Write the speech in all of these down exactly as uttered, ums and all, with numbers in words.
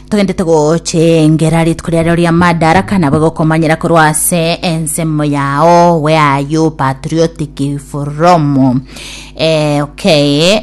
Togendete gochengera rituko riarero ria Madaraka, nabo gokomanyera korwa ase ensemo yao. Where are you patriotic from? Eh, okay,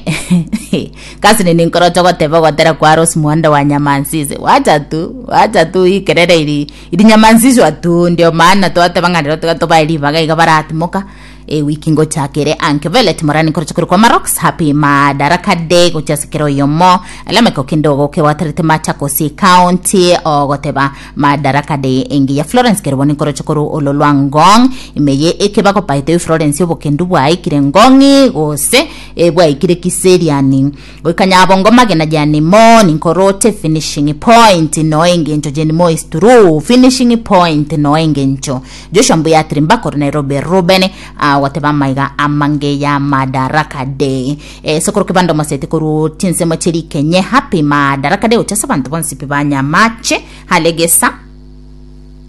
kasi nini nkorocho goteba gotera kwa Rose Muhando wa Nyamansize. Wacha tu, wacha tu ikerere iri iri nyamanzizwa tu, ndio maana twateba ng'anero tiga tobae ribaga iga baratimoka e wiki ngochakere anke Velet Morani nkorocho kuri kwa Marox. Happy Madaraka Day gochasekero yomo alameko kindogo ke watarete Machakos County ogoteba Madaraka Day engi ya Florence Keroboni nkorocho koru ololwa Ngong imeye ekebako paite Florence obokendu bwaikire Ngongi gose e bwaikire Kiseriani goikanyabongo magena jani mo ninkorote finishing point no engencho jeni mo is true finishing point no engencho Joshua Mbuyatiri mbakoro Nairobi Ruben uh, wateba maiga amange ya Madaraka Day. E, sokoro kibando masete koru tinsemo cheri kenye. Happy Madaraka Day uchasa bantu bonsi pibanya mache halegesa.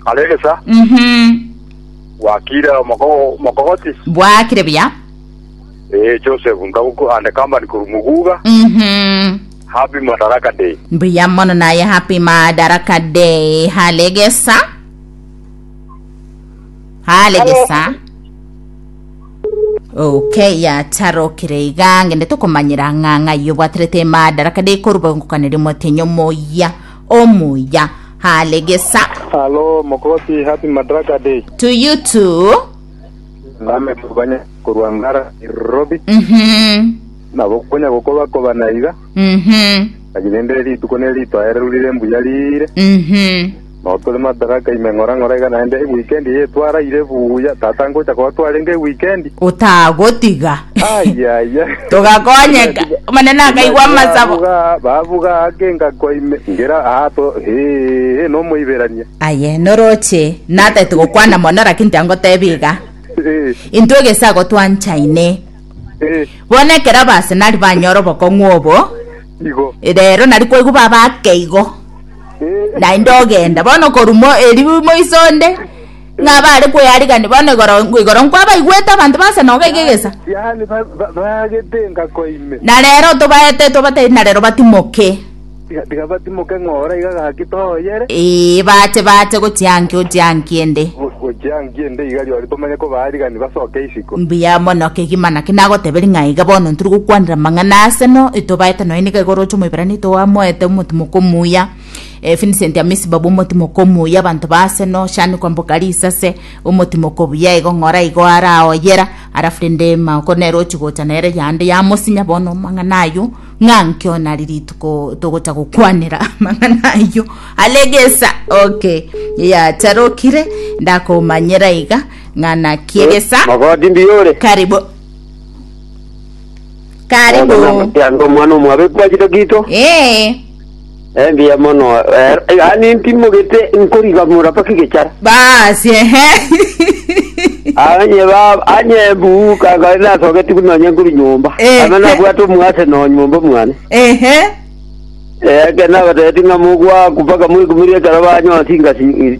Alegesa. Mhm. Wakira moko mokogoti. Bwakire buya. Eh, Joseph ngabuko ande company kurumuguga. Mhm. Happy Madaraka Day. Mbuya mono naye, happy Madaraka Day. Halegesa, halegesa. Okay, yatarokire iga ngende tukumanyira ng'ang'a iyo bwaterete Madaraka Day koruba ngukanire motenyo moya omuya. Halegesa. Hello, Mokoti, happy Madaraka Day. To you too. Name kubanya kurwangara Nairobi. Mhm. Nabo kunya gukoba koba naiga. Mhm. Agirende rituko ne rito erurire mbuya rire. Mhm. No tuli Madaraka ime ngora ngora iga naende weekend ye twaraire buya tata ngocha kwa twarenge weekend. Utagotiga. Ai ai. Tugakonyeka manene akaigwa masabo. Bavuga bavuga akenga kwa ime ngera ato he he no muiberania. Aye noroche nate tugukwana mono lakini tiangotebiga. Eh. Intwe gesago twanchaine. Eh. Bono ekero Arsenal banyora obokong'u obo. Igo. Rero nari kwaigwa babake igo. Eh. Naende ogenda bono korumo eri moisonde ng'a bare kweyarigani bono igoro igoro nkwabaigwete abanto ba Arsenal gaigegesa. Yani bagetenga kwa ime. Na rero tobaete tobatebi na rero batimoke. Tiga batimoke ng'ora iga gaki toyere. Ee, bache bache gochianki ochianki ende. Gochianki ende iga riori tomanye kobaarigani basoke isiko. Mbuya mono kegima naki nagoteberi ng'a iga bono nturi gokwanera mang'ana Arsenal etobaete noe niga igoro oche omoiberani toamoete omotimoko omuya. Eh, Vincent Amisi babu omotimoko omuya abanto ba Arsenal shani kwamboka risase omotimoko buya igo ng'ora igo araoyera arafu rende mako nere ochigocha nere yande yamosinya bono mang'ana ayo ng'ankio nari rituko togocha gokwanera mang'ana ayo alegesa. Okay, yatarokire ndakomanyera iga ng'ana kiegesa. Magodi mbiyore. Karibu, karibu. Yango mwana omwabe kwachire gito. Eh. Eh, mbiya mono. Eh, yani ntimogete nkorigamura paka gechara. Basi ehe. Anye ba anye buka ga sogeti kunonya nkuri nyumba. Eh. Ama nabwate omwase no nyumba mwana. Ehe. Eh, kena bateti ngamugwa kupaka muri kumirie kara banyo singa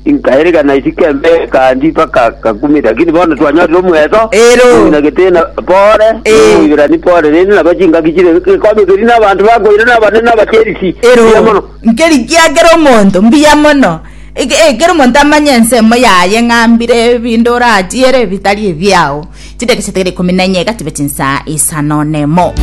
inkaereka isikembe kandi paka kakumi lakini bono twanywa omweto. Ero. Na getena pore. Eh. Ibirani pore rindi nabachinga kichire kwame kiri n'abantu bagoire n'abane n'abacherisi. Ero. Mbuya mono. Nkeri kiagera omonto mbuya mono. Eke- eh, kera omonto amanye ensemo yaye ng'ambire ebinto orachiere ebitari ebiao chideke chitigere ikomi na enye gatibe chinsa isano nemo.